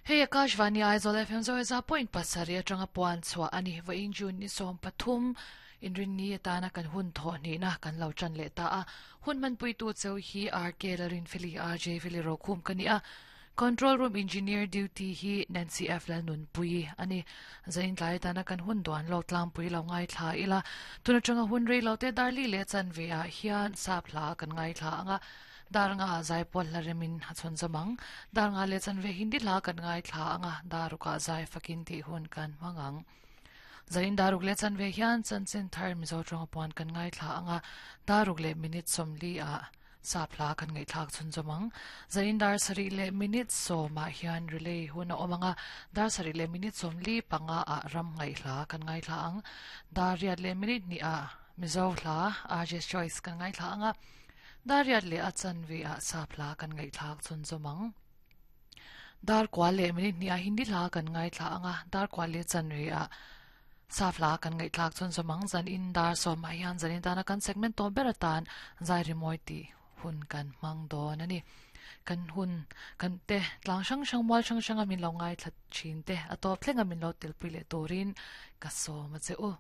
Hei Akashvani Aizawl FM Zaweza point pasarih atanga puan chhuah a ni. Vawiin June ni 13 inrinni atana kan hun thawh hnihna kan lo tan leh ta a. Hun hmanpuitu cheu hi RK Lalrinfeli, RJ Feli Rokhum ka ni a. Control Room Engineer Duty hi Nancy F Lalnunpuii a ni. Zain tlai atana kan hun duan lawk tlangpui lo ngaithla ila. Tun atanga hun rei lo te dar li leh chanve ah hian sap hla kan ngaithla anga dar nga ah zai pawl hla remin a chhawn zawm ang. Dar nga leh chanve Hindi hla kan ngaithla anga dar ruk ah zai fakin tih hun kan hmang ang. Zain dar ruk leh chanve hian chanchin thar Mizo tawnga puan kan ngaithla anga dar ruk leh minute 40 ah Sap hla kan ngaihthlak chhunzawm ang. Zain dar sarih leh minute sawmah hian relay hun a awm ang a, dar sarih leh minute 45 ah ram ngaihhla kan ngaithla ang. Dar riat leh minute hnih ah Mizo hla RJ's Choice kan ngaithla ang a, dar riat leh a chanve ah sap hla kan ngaihthlak chhunzawm ang. Dar kua leh minute hnih ah Hindi hla kan ngaithla ang a, dar kua leh chanve ah Sap hla kan ngaihthlak chuan zawmang zan in dar sawmah hian zanin tana kan segment tawp ber atan zai rimawi tih hun kan hmang dawn a ni. Kan hun kan te tlang hrang hrang mual hrang hranga min lo ngaithla thin te a tawp thlenga min lo telpui leh turin ka sawm a che u.